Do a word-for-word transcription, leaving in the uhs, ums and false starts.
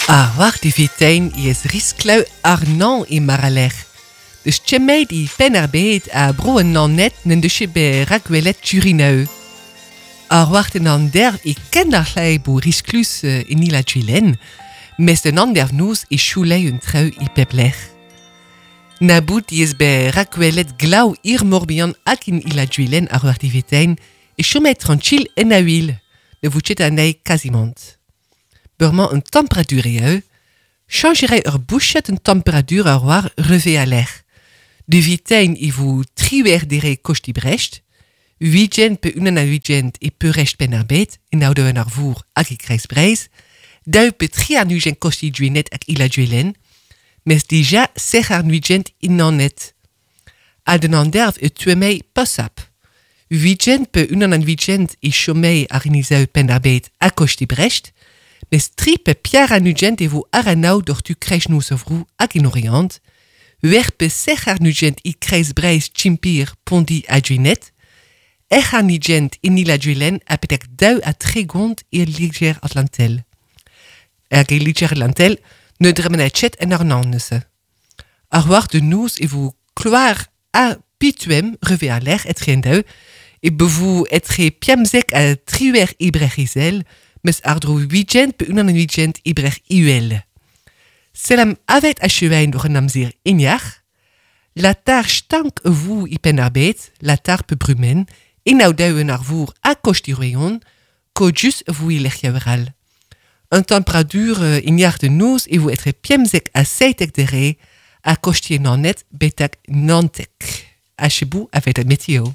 Ar war di vitein i es risklau ar nan i maraler. Dus tjemeid i pen ar bed a bro an nanet n'en deus ket bet rakwelet turineu. Ar war den an derv i ken ar chlei bo risklus in ila juilen, mes den an derv noz e choulei un treu i pep lec'h. Na bout i es bet rakwelet glau ir morbihan hag in ila juilen ar war di vitein e chomet tranquil en a huil, ne vout anei quasiment. Beurman un temperature eo, changerei ur bouchet un temperature ar war reve a l'air. De vitein i vo triwer dere kosti Brecht, huitgent pe unan a huitgent e peurecht pen ar bet, en oude en ar voer hag e kreiz Breiz, daou pe tri ar nugent kosti juinet hag ila juelen, mes dija sech ar nugent in net. A den an derv e tuemei passap. Huitgent pe unan an huitgent e chomei ar inizeu pen ar bet a kosti Brecht, mes tri pe piar an nugent e vo ar anao dor tu kreiz nous vrou hag in Orient, wer pe sech ar nugent i kreiz Breiz tchimpir pondi a juinet, ech ar nugent in ila juelen a petek daou a tregont ir Liger Atlantel. Hag e Liger Atlantel ne dremen a chet en ar nan neuze. Ar war de noz e vo kloar a pituem reve a l'er etre en daou, e bevo etre piamzek a triwer ibrech izel, mes ar dro huitgent pe unan an huitgent ibrech iuel. Selam avet a chewein door an amzer injach, la tar stank e voe i pen ar bet, la tar pe brumen, en nou duwen ar voer a kosti royon, ko jus e voe i lechjouweral. Un temperatuur in jaar de noos e voe etre piemzek a seitek de re, a kosti nan net betak nantek. A chebou avet a meteo.